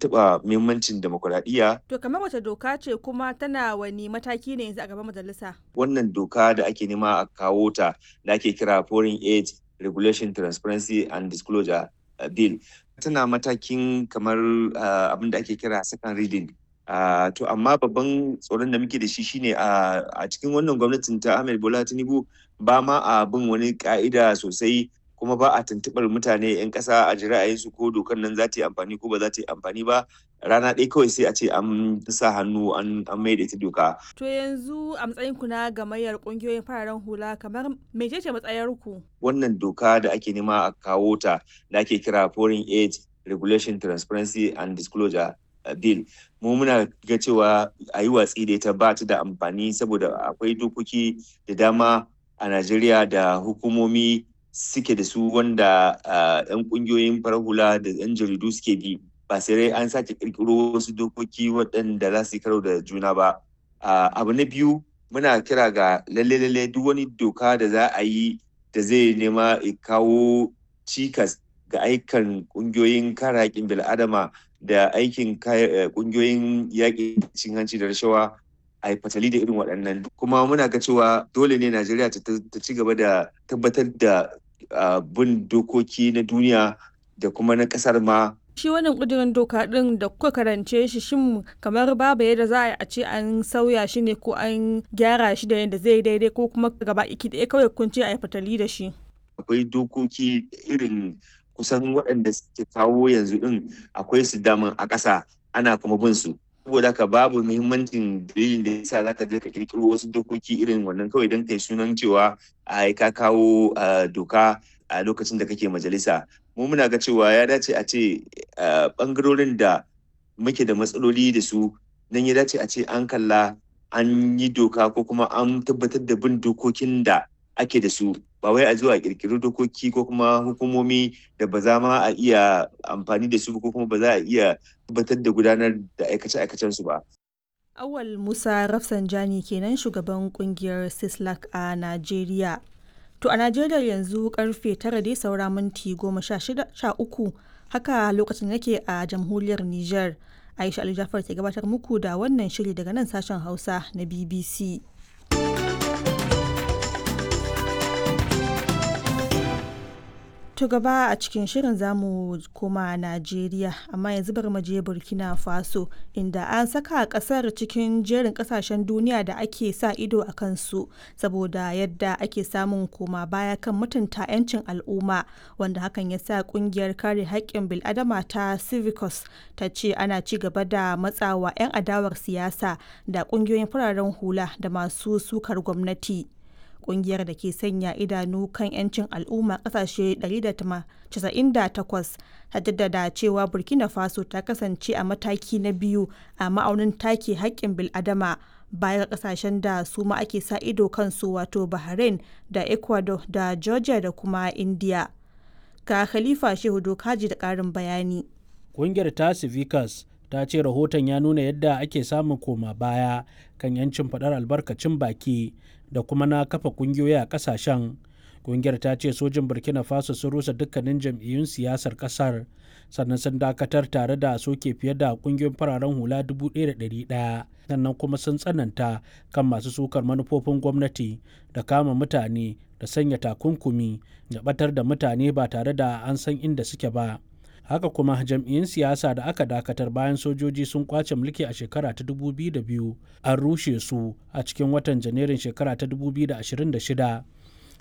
taɓa muhimmancin demokuraɗiyya. To kamar wace doka ce kuma tana wani mataki ne yanzu a gaban majalisa? Wannan doka da ake nema a kawo ta da ake kira Foreign Aid Regulation Transparency and Disclosure Bill tana matakin kamar abin da ake kira second reading. To amma babban tsoron da muke da shi shine a cikin wannan gwamnatin ta Ahmed Bola Tinubu ba ma a bin wani ka'ida sosai, kuma ba a tuntuɓar mutane 'yan ƙasa a ji ra'ayinsu ko dokar nan za ta yi amfani ko ba za ta yi amfani ba. Rana ɗaya kawai sai a ce an sa hannu an maida ita doka. To yanzu a matsayin ku na gamayyar ƙungiyoyin fararen hula, kamar mecece matsayar ku? Wannan doka da ake nema a kawo ta da ake kira Foreign Aid Regulation Transparency and Disclosure Bill, mu muna ga cewa a yi watsi da ita, ba ta da amfani, saboda akwai dokoki da dama a Najeriya da hukumomi suke da su wanda 'yan kungiyoyin farar hula da 'yan jaridu suke bi, ba sai dai an sake kirkiro wasu dokoki waɗanda za su yi karo da juna ba. Abu na biyu, muna kira ga lalle lalle duk wani doka da za a yi da zai nema kawo cikas ga aikan kungiyoyin kare haƙƙin bil'adama da aikin kungiyoyin yaƙi cin hanci da rashawa, a yi fatali da irin waɗannan. Kuma muna ga cewa dole ne Najeriya ta ci gaba da tabbatar da bin dokoki na duniya da kuma na ƙasar ma. Shi wannan ƙudurin doka ɗin da kuka karance shi, shin kamar babu yadda za a ce an sauya shi ne ko an gyara shi da yadda zai daidai, ko kuma gaba iki ɗaya kawai kun ce a yi fatali da shi? Akwai dokoki irin kusan waɗanda suke kawo yanzu ɗin, akwai su daman a ƙasa, ana kuma bin su. Saboda haka babu muhimmancin dalilin da yasa zaka je ka kirkiro wasu dokoki irin wannan kawai don kai sunan cewa ai ka kawo doka a lokacin da kake majalisa. Mu muna ga cewa ya dace a ce bangarorin da muke da matsaloli da su nan ya dace a ce an kalla an yi doka ko kuma an tabbatar da bin dokokin da ake da su, ba wai a zuwa kirkiri dokoki ko kuma hukumomi da ba za ma a iya amfani da su ko kuma ba za a iya tabbatar da gudanar da aikace-aikacen su ba. Awal Musa Rafsanjani kenan, shugaban kungiyar Sislak a Najeriya. To a Najeriya yanzu karfe 9 dai saura minti 13, haka lokacin yake a jamhuriyar Nijar. Aisha Ali Jafar ke gabatar muku da wannan shiri daga nan sashen Hausa na BBC. To gaba a cikin shirin zamu koma Najeriya, amma yanzu bari mu je Burkina Faso, inda an saka kasar cikin jerin kasashen duniya da ake sa ido a kansu saboda yadda ake samun koma baya kan mutunta 'yancin al'umma, wanda hakan ya sa kungiyar kare haƙƙin bil'adama ta Civicus ta ce ana ci gaba da matsawa 'yan adawar siyasa da kungiyoyin fararen hula da masu sukar gwamnati. Kungiyar da ke sanya idanu kan 'yancin al'umma kasashe 198 ta jaddada cewa Burkina Faso ta kasance a mataki na biyu a ma'aunin take haƙƙin bil'adama, bayan kasashen da su ma ake sa ido kansu, wato Bahrain da Ecuador da Georgia da kuma India. Ga Khalifa Shehu Dokaji da ƙarin bayani. Kungiyar ta Civicus ta ce rahoton ya nuna yadda ake samun koma baya kan 'yancin faɗar albarkacin baki da kuma na kafa kungiyoyi a kasashen. Kungiyar ta ce sojin Burkina Faso sun rusa dukkanin jam'iyyun siyasar kasar, sannan sun dakatar tare da soke fiye da kungiyoyin fararen hula 1,100, sannan kuma sun tsananta kan masu sukar manufofin gwamnati da kama mutane da sanya takunkumi da batar da mutane ba tare da an san inda suke ba. Haka kuma jam'iyyun siyasa da aka dakatar bayan sojoji sun kwace mulki a shekara ta 2002 an rushe su a cikin watan Janairun shekara ta 2026.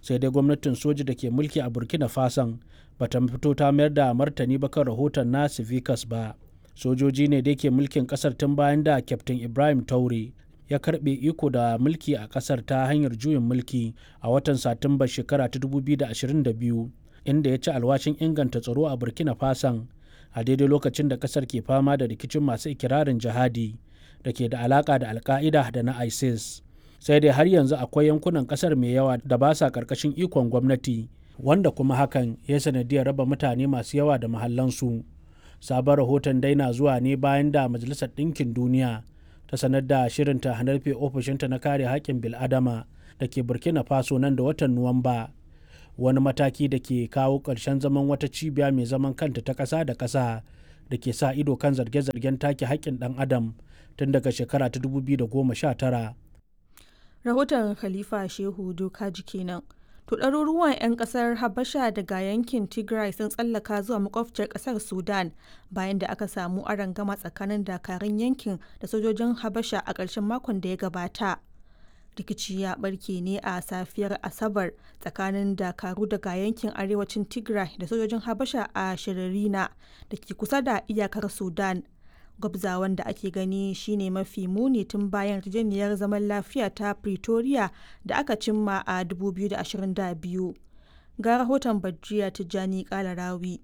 Sai dai gwamnatin soji da ke mulki a Burkina Fason bata fito ta mayar da martani ba kan rahoton na Civicus ba. Sojoji ne da ke mulkin kasar tun bayan da Kyaftin Ibrahim Taure ya karbe iko da mulki a kasar ta hanyar juyin mulki a watan Satumba shekara ta 2022, inda ya ci alwashin inganta tsaro a Burkina Fason a daidai lokacin da kasar ke fama da rikicin masu ikirarin jihadi da ke da alaka da Alka'ida da na ISIS. Sai dai har yanzu akwai yankunan kasar mai yawa da ba sa karkashin ikon gwamnati, wanda kuma hakan ya sanadiyar raba mutane masu yawa da mahallansu. Sabon rahoton dai na zuwa ne bayan da Majalisar Ɗinkin Duniya ta sanar da shirinta rufe ofishinta na kare haƙƙin bil'adama da ke Burkina Faso nan da watan Nuwamba, wani mataki da ke kawo ƙarshen zaman wata cibiya mai zaman kanta ta ƙasa da ƙasa da da ke sa ido kan zarge-zargen take haƙƙin ɗan adam tun daga shekara ta 2019. Rahoton Khalifa Shehu Dokaji kenan. To ɗaruruwan 'yan ƙasar Habasha daga yankin Tigray sun tsallaka zuwa makwabciyar ƙasar Sudan bayan da aka samu arangama tsakanin dakarun yankin da sojojin Habasha a ƙarshen makon da ya gabata. Rikici ya barke ne a safiyar Asabar tsakanin dakaru daga yankin arewacin Tigray da sojojin Habasha a Shiririna da ke kusa da iyakar Sudan. Gwabzawan da ake gani shine mafi muni tun bayan yarjejeniyar zaman lafiya ta Pretoria da aka cimma a 2022. Ga rahoton Badriya Tijjani Kalarawi.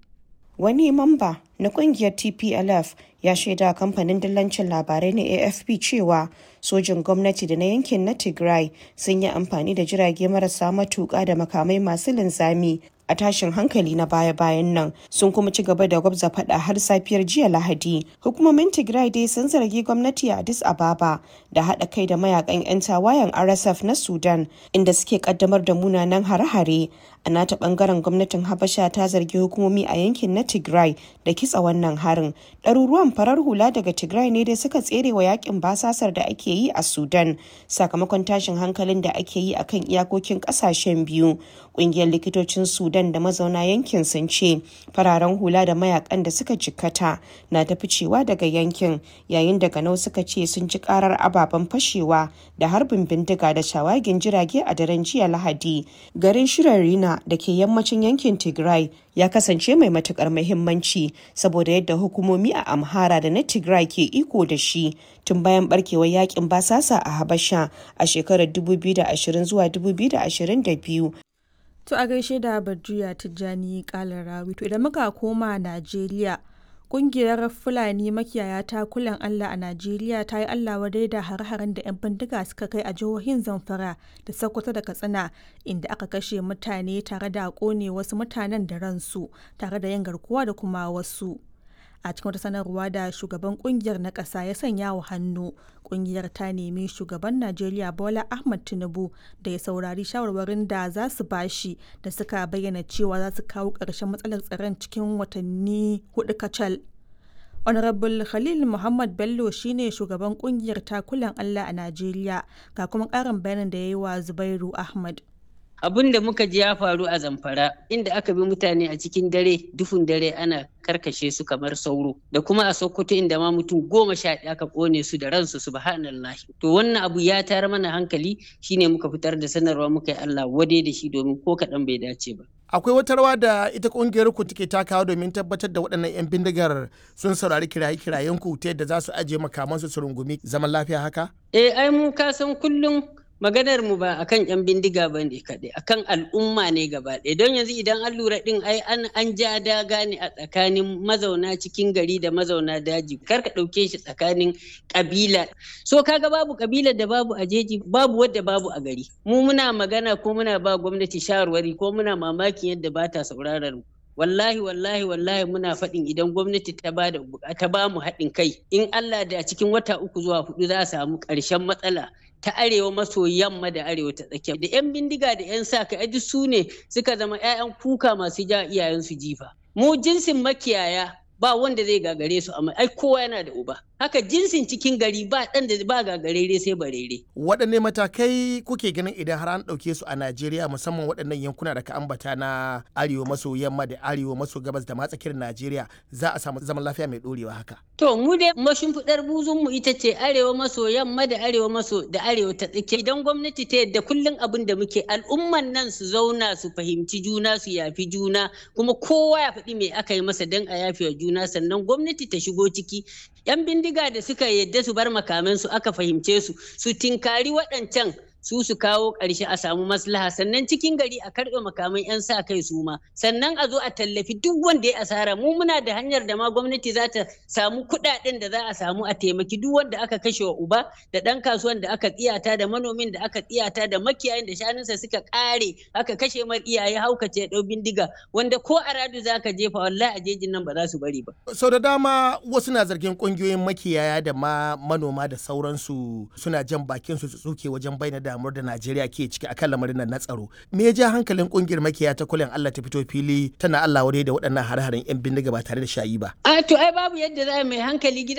Wani mamba na kungiyar TPLF ya shaida kamfanin dillancin labarai na AFP cewa sojin gwamnati da na yankin na Tigray sun yi amfani da jirage marasa matuƙa da makamai masu linzami a tashin hankali na baya-bayan nan, sun kuma ci gaba da gwabza fada har safiyar jiya Lahadi. Hukumomin Tigray dai sun zargi gwamnati a Addis Ababa da haɗa kai da mayakan 'yan tawayen RSF na Sudan, inda suke kaddamar da munanan hare-hare. A nata bangaren, gwamnatin Habasha ta zargi hukumomi a yankin na Tigray da kitsa wannan harin. Ɗaruruwan farar hula daga Tigray ne dai suka tsere wa yakin basasar da ake yi a Sudan sakamakon tashin hankalin da ake yi akan iyakokin ƙasashen biyu. Ƙungiyar likitocin Sudan da mazauna yankin sun ce fararen hula da mayakan da suka jikkata na ta ficewa daga yankin, yayin da ganau suka ce sun ji karar ababen fashewa da harbin bindiga da shawagin jirage a daren jiya Lahadi. Garin Shirarina da ke yammacin yankin Tigray ya kasance mai matukar muhimmanci saboda yadda hukumomi a Amhara da na Tigray ke iko da shi tun bayan barkewar yakin basasa a Habasha a shekarar 2020 zuwa 2022. To a gaishe da Badriya Tijjani Kalarawi. To idan muka koma Najeriya, kungiyar Fulani makiyaya ta kulan Allah a Najeriya ta yi Allah wadai da har-haren da 'yan bindiga suka kai a jihohin Zamfara da Sokoto da Katsina, inda aka kashe mutane tare da kone wasu mutanen da ransu tare da yin garkuwa da kuma wasu. A cikin wata sanarwa da shugaban kungiyar na ƙasa ya sanya wa hannu, kungiyar ta nemi shugaban Najeriya Bola Ahmad Tinubu da ya saurari shawarwarin da za su bashi, da suka bayyana cewa za su kawo ƙarshen matsalar tsaron cikin watanni 4 kacal. Honorable Khalil Muhammad Bello shine shugaban kungiyar Takulan Allah a Najeriya, ga kuma ƙarin bayanin da ya yi wa Zubairu Ahmad. Abin da muka ji ya faru a Zamfara, inda aka bi mutane a cikin dare, duhun dare, ana karkashe su kamar sauro, da kuma a Sokoto, inda ma mutum 11 aka kone su da ransu, subhanallah. To wannan abu ya tayar mana hankali, shine muka fitar da sanarwa muka yi Allah wade da shi, domin ko kaɗan bai dace ba. Akwai wata rawa da ita kungiyar ku take takawa domin tabbatar da waɗannan 'yan bindigar sun saurari kiraye-kirayen ku ta yadda za su ajiye makamansu su rungumi zaman lafiya haka? Eh, ai mu ka san kullum maganar mu ba akan yan bindiga ba ne kaɗai, akan al'umma ne gaba ɗaya. Don yanzu idan an lura ɗin, ai an ja daga ne a tsakanin mazauna cikin gari da mazauna daji. Kar ka ɗauke shi tsakanin ƙabila. So kaga babu ƙabilar da babu a jeji, babu wadda babu a gari. Mu muna magana ko muna ba gwamnati shawarwari, ko muna mamakin yadda ba ta sauraron mu. Wallahi, wallahi, wallahi, muna faɗin idan gwamnati ta ba da ta ba mu haɗin kai, in Allah da cikin wata 3 zuwa 4 za a samu ƙarshen matsala ta arewa maso yamma da arewa ta tsakiya. Da 'yan bindiga da 'yan sa kai duk su ne suka zama 'ya'yan kuka masu ja iyayensu jifa. Mu jinsin makiyaya ba wanda zai gagare su, amma ai kowa yana da uba. Haka jinsin cikin gari ba ɗan da ba gagarere sai barere. Waɗanne matakai kuke ganin idan har an ɗauke su a Najeriya, musamman waɗannan yankuna da ka ambata na arewa maso yamma da arewa maso gabas da ma tsakiyar Najeriya, za a samu zaman lafiya mai ɗorewa haka? To mu dai mashimfiɗar buzun mu ita ce arewa maso yamma da arewa maso da arewa ta tsakiya. Idan gwamnati ta yadda, kullum abin da muke, al'umman nan su zauna su fahimci juna, su yafi juna, kuma kowa ya faɗi me aka yi masa don a yafi wa juna, sannan gwamnati ta shigo ciki. 'Yan bindiga da suka yadda su bar makamansu aka fahimce su, su tinkari waɗancan su kawo ƙarshe, a samu maslaha. Sannan cikin gari a karɓe makaman 'yan sa kai su ma, sannan a zo a tallafi duk wanda ya asara. Mu muna da hanyar da ma gwamnati za ta samu kuɗaɗen da za a samu a taimaki duk wanda aka kashe wa uba, da ɗan kasuwan da aka tsiyata, da manomin da aka tsiyata, da makiyayin da shanunsa suka ƙare, aka kashe mar iyaye, haukace ɗau bindiga, wanda ko a radu za ka jefa, wallahi a jejin nan ba za su bari ba. Sau da dama wasu na zargin ƙungiyoyin makiyaya da ma manoma da sauransu suna jan bakin su tsuke wajen bayyana da damuwar da Najeriya ke ciki akan lamarin nan na tsaro. Me ya ja hankalin kungiyar makiya ta kulen Allah ta fito fili tana Allah wadai da waɗannan hare-haren 'yan bindiga ba tare da shayi ba? A to ai babu yadda za mai hankali gidan